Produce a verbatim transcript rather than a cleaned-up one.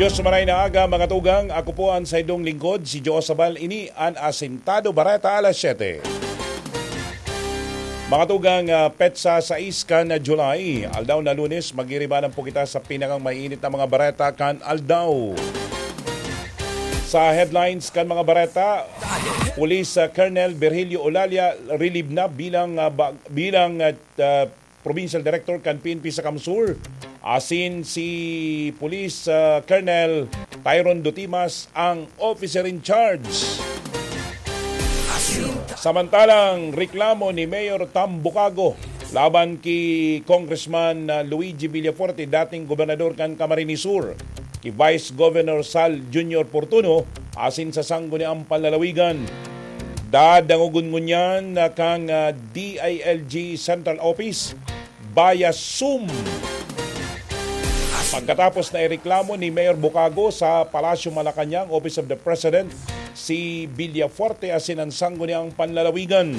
Diyos maray na aga, mga tugang. Ako po ang saindong lingkod, si Joe Sabal. Ini an Asintado Bareta alas siyete. Mga tugang, ah, petsa sais kan July, aldaw na Lunes, magiribanan po kita sa pinakang mainit na mga bareta kan aldaw. Sa headlines kan mga bareta, Police, ah, Colonel Virgilio Olalia relieve na bilang, ah, ba-, bilang, ah, ah, Provincial Director kan P N P sa CamSur, asin si Police, ah, Colonel Tyron Dutimas ang officer in charge. Samantalang reklamo ni Mayor Tambukago laban ki Congressman, ah, Luigi Villafuerte, dating gobernador kan Camarines Sur, ki Vice Governor Sal Junior Portuno, asin sa Sangguniang Panlalawigan. Dadangogon ngunyan na kan, ah, D I L G Central Office via Zoom. Pagkatapos na ireklamo ni Mayor Bukago sa Palasyo Malacañang, Office of the President, si Villafuerte asin ang Sangguniang Panlalawigan.